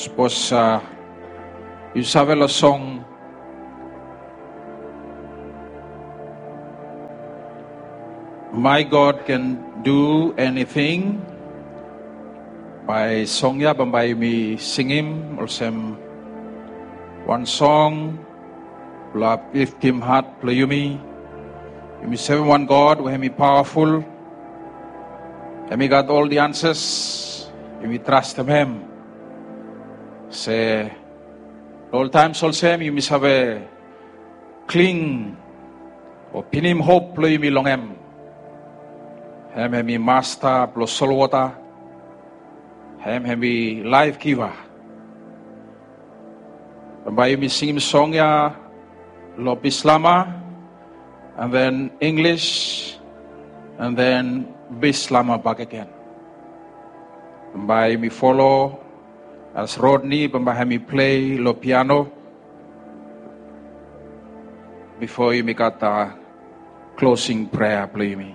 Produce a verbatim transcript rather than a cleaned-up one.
Sapos yu save long song My God Can Do Anything, bae song ya bambae yumi singim olsem wan song blong apliftim hat blong yumi. Yumi sevem wan God we hem i pawaful. Hem i gat ol the answers. Yumi trastem hem. Se oltaem olsem yumi save kling o pinim hop blong yumi long hem. Hem hem i masta blong solwota. Hem hem i laef giva. Bambae yumi singim song ya long Bislama, and then English, and then Bislama bakegen. Bambae yumi folo as Rodney bambae hem i plei long piano bifo yumi gat klosing prea blong yumi.